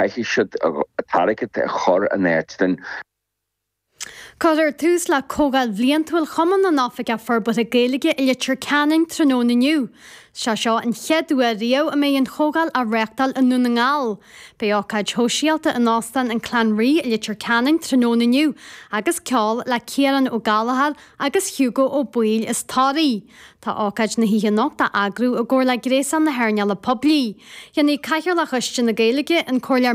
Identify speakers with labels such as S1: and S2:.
S1: Caithfidh siad an t-airgead a chur in áit den.
S2: Cuirfear tús le Comhdháil Bhliantúil Chumann na nOifigeach Forbartha Gaeilge i Leitir Ceanainn tráthnóna inniu. Sé seo an chéad uair riamh a mbeidh an chomhdháil á reáchtáil i nDún na nGall. Beidh ócáid shóisialta in Óstán an Clanree i Leitir Ceanainn tráthnóna inniu agus ceol le Ciarán Ó Gallchóir agus Hugo Ó Baoill as Toraigh. Tá ócáid na hoíche anocht á eagrú i gcomhar le Gréasán na hEarnála Poiblí. Déanfaidh Cathaoirleach Choiste na Gaeilge, an Comhairleoir.